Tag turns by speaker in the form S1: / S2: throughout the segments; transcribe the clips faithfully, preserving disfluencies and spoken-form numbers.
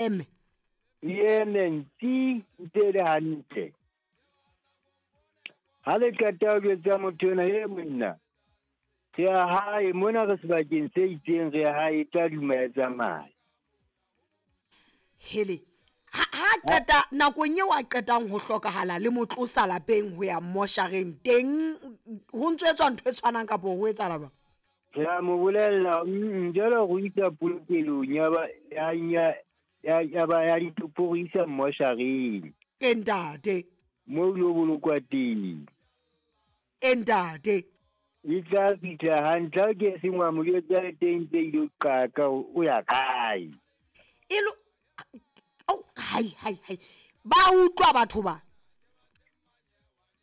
S1: Eme.
S2: E eme ntsi ntse e le hantle. Ha le qeta ho jwetsa motho ena, e monna, re ya hae mona, re sebakeng se itseng, re ya hae, e tla duma e tsamaya.
S1: Hele, ha ha qeta nakong eo a qetang ho hlokahala le mo tlosa lapeng ho ya moshareng teng, ho ntso etswa ntho e tshwanang kapa ho etsahala jwang?
S2: Re a mo bolella, mm, jwale re o isa polokelong ya ba ya ya ya ya ba ya ditopo, re isa moshareng.
S1: E ntate.
S2: Mo lo bolokwa teng.
S1: E ntate.
S2: E tla fihla hantle, ha ke seng wa mo jwetsa le teng tse ilo qaka o ya kae.
S1: E lo oh, hai hai hai. Ba utlwa batho ba.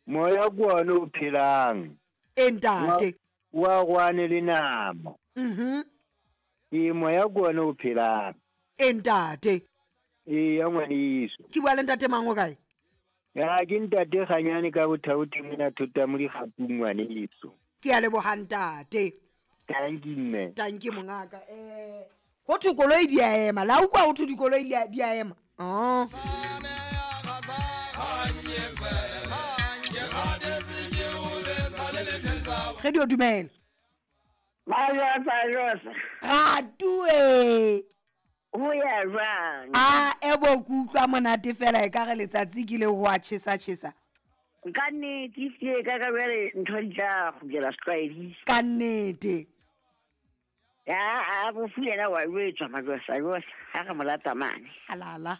S2: Moya ke ona o phelang.
S1: E ntate.
S2: Wa rwane le nama.
S1: Mhm.
S2: E moya ke ona o phelang.
S1: E ntate.
S2: E ya ngwaneso.
S1: Ke bua le ntate mang o kae?
S2: Ya ke ntate Kganyane ka bothaothi mona thota mo dikgapung ngwaneso.
S1: Ke a leboha ntate.
S2: Tanki mme.
S1: Tanki mongaka. Eh ho thwe koloi di a ema. La utlwa ho thwe dikoloi di a di a ema. Oh. Radio dumela.
S3: Majosa.
S1: Ratue.
S3: Ho ya jwang?
S1: A ebo ke utlwa monate fela e ka re letsatsi ke le ho a tjhesa tjhesa.
S3: Ka nnete ehlile ka ka jwale ntho di tla kgutlela setlwaeding.
S1: Ka nnete.
S3: Ya a bofu yena wa jwetswa Majosa josa ha re mo lata mane.
S1: Halala.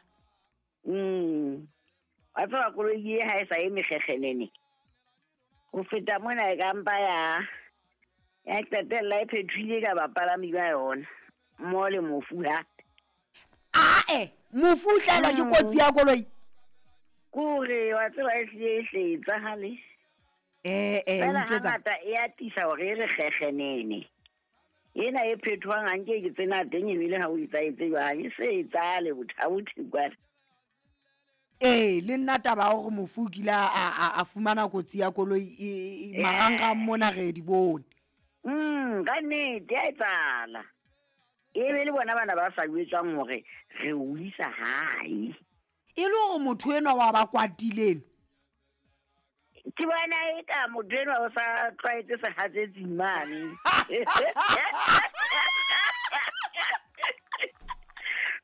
S3: Mm. Wa tseba koloi e ha e sa eme kgekgenene. Ho feta mona e ka mpa ya ya qetella e phethile ka bapalami ba yona. Mo le mofu ha.
S1: Ae, mofu o hlahelwa ke kotsi ya koloi.
S3: Kore wa tseba e hlile e hle etsahale.
S1: Eh eh
S3: Fela
S1: utlwetsa.
S3: hangata e atisa hore e re kgekgenene. Ena e phethwang ha nke ke tsena teng ebile ha o etsaetse jwang, e se etsahale bothaothi kwana.
S1: Eh le nna taba ya hore mofu o kile a a a fumana kotsi ya koloi e e marangrang mona re di bone.
S3: Mm, ka nnete ya etsahala. E be le bona bana ba sa jwetswang hore re o isa hae.
S1: E le hore motho enwa wa ba kwatileng.
S3: Ke bona eka motho enwa o sa tlwaetse sehatsetsing mane.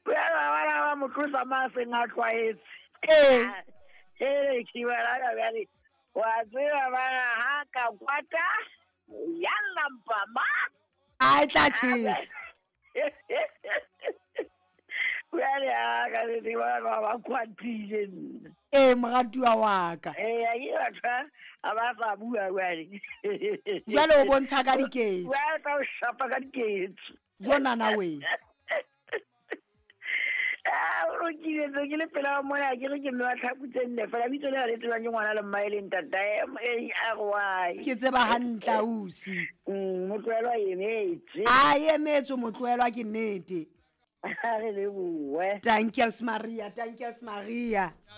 S3: Jwale wa bona ba mo tlosa ma seng a tlwaetse.
S1: Eh.
S3: Eh, ke bona ka jwale wa tseba bana ha ka kwata yalla mpama.
S1: A e tla tjhesa.
S3: Jwale a ka le bona ba ba kwatile nna.
S1: Eh moratuwa wa ka.
S3: Eh a ke batho a ba sa bua jwale.
S1: Jwale o bontsha ka diketso.
S3: Jwale tla o shapa ka diketso.
S1: Jonana we.
S3: Ah, o lokile ntse ke le pela mona ke re ke mme wa tlhaku tse nne fela bitso le le tsebang ke ngwana le mmae le ntatae M A R Y.
S1: Ke tseba hantle ausi.
S3: Mm, motlohelwa emetse.
S1: A emetse motlohelwa ke nnete.
S3: Ha re lebohe.
S1: Thank you Maria, thank you Maria.